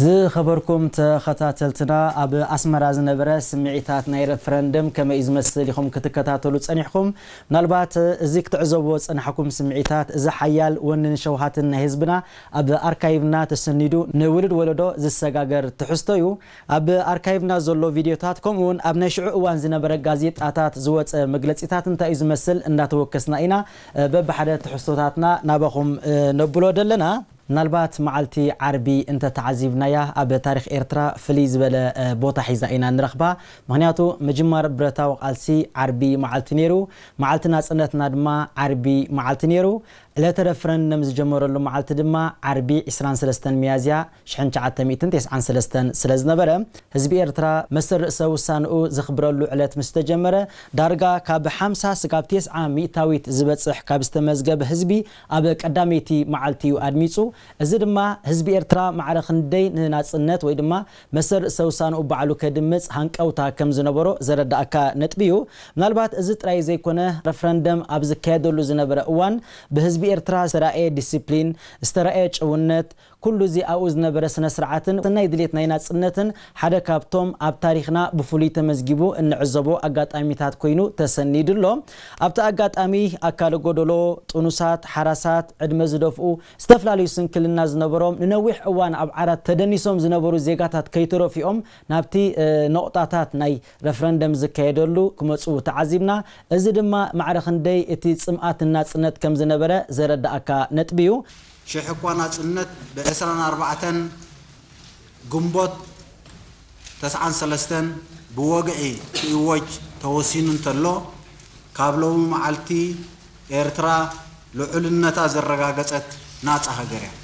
ዝኸበርኩም ተኸታተልትና፣ ኣብ ኣስመራ ዝነበረ ስምዒታት ናይ ረፈረንደም ከመይ እዩ ዝመስል ኢኹም ክትከታተሉ ጸኒሕኩም። ምናልባት እዚ ክትዕዘብዎ ዝጸናሕኩም ስምዒታት፣ እዚ ሓያል ወንን ሸውሃትን ናይ ህዝብና ኣብ ኣርካይቭና ተሰኒዱ ንውሉድ ወለዶ ዝሰጋገር ትሕዝቶ እዩ። ኣብ ኣርካይቭና ዘሎ ቪድዮታት፣ ከምኡ እውን ኣብ ናይ ሽዑ እዋን ዝነበረ ጋዜጣታት ዝወጸ መግለጺታት እንታይ እዩ ዝመስል እንዳተወከስና ኢና፣ እ፣ በብሓደ ትሕዝቶታትና ናባኹም፣ እ፣ ነብሎ ደለና። ምናልባት መዓልቲ ዓርቢ እንተ ተዓዚብናያ፣ ኣብ ታሪኽ ኤርትራ ፍልይ ዝበለ፣ እ፣ ቦታ ሒዛ ኢና ንረኽባ። ምኽንያቱ፣ ምጅማር ብረታዊ ቃልሲ ዓርቢ መዓልቲ ነይሩ፣ መዓልቲ ናጽነትና ድማ ዓርቢ መዓልቲ ነይሩ። ዕለተ ረፈረንደም ዝጀመረሉ መዓልቲ ድማ ዓርቢ ዕስራን ሰለስተን ሚያዝያ ሽሕን ትሽዓተ ሚእትን ተስዓን ሰለስተን ስለ ዝነበረ፣ ህዝቢ ኤርትራ መሰል ርእሰ ውሳንኡ ዘኽብረሉ ዕለት ምስ ተጀመረ፣ ዳርጋ ካብ ሓምሳ ስጋብ ተስዓ ሚእታዊት ዝበጽሕ ካብ ዝተመዝገበ ህዝቢ ኣብ ቀዳመይቲ መዓልቲ እዩ ኣድሚጹ። እዚ ድማ ህዝቢ ኤርትራ ማዕረ ክንደይ ንናጽነት ወይ ድማ መሰል ርእሰ ውሳንኡ ባዕሉ ከድምጽ ሃንቀውታ ከም ዝነበሮ ዘረዳእካ ነጥቢ እዩ። ምናልባት እዚ ጥራይ ዘይኮነ፣ ረፈረንደም ኣብ ዝካየደሉ ዝነበረ እዋን ብህዝቢ ኤርትራ ዝተራእየ ዲሲፕሊን፣ ዝተራእየ ጭውነት፣ ኩሉ እዚ ኣብኡ ዝነበረ ስነ ስርዓትን ናይ ድሌት ናይ ናጽነትን ሓደ ካብቶም ኣብ ታሪኽና ብፍሉይ ተመዝጊቡ እንዕዘቦ ኣጋጣሚታት ኮይኑ ተሰኒዱ ኣሎ። ኣብቲ ኣጋጣሚ ኣካለ ጎደሎ፣ ጥኑሳት፣ ሓራሳት፣ ዕድመ ዝደፍኡ፣ ዝተፈላለዩ ስንክልና ዝነበሮም፣ ንነዊሕ እዋን ኣብ ዓራት ተደኒሶም ዝነበሩ ዜጋታት ከይተረፊኦም ናብቲ፣ እ፣ ነቑጣታት ናይ ረፈረንደም ዝካየደሉ ክመጹ ተዓዚብና። እዚ ድማ ማዕረ ክንደይ እቲ ጽምኣት ንናጽነት ከም ዝነበረ ዘረዳእካ ነጥቢ እዩ። ሽሕ እኳ ናጽነት ብዕስራን ኣርባዕተን ግንቦት ተስዓን ሰለስተን ብወግዒ ክእወጅ ተወሲኑ እንተሎ፣ ካብ ሎሚ መዓልቲ ኤርትራ ልዑልነታ ዘረጋገጸት ናጻ ሃገር እያ።